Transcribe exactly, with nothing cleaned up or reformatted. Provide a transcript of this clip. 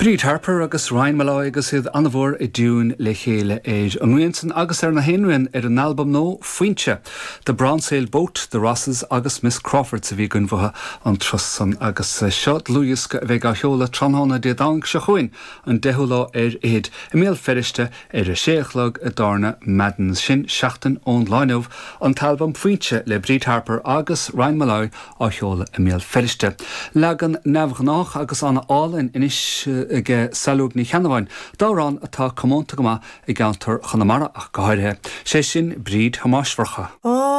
Bríd Harper agus Ryan Molloy agus iad an-mhór i dtiúin le chéile ar an rian san agus ar na haon ar an albam nua Foinse. The Brown Sail Boat, The Rosses agus Miss Crawford a bhí againn uathu an turas san agus seo dlúthdhiosca a bheidh á sheoladh tráthnóna Dé Domhnaigh seo chugainn an deichiú lá ar fhichid i mBéal Feirste ar a sé a chlog i dtábhairne Madden sin seachtain ón lá inniu an t-albam Foinse le Bríd Harper agus Ryan Molloy á sheoladh i mBéal Feirste. Leagan neamhghnách agus an-álainn anois ag Saileog Ní Cheannabháin, d'amhrán atá comónta go maith i gceantar Chonamara ach go háirithe, sé sin Bríd Thomáis Mhurchadha. Ó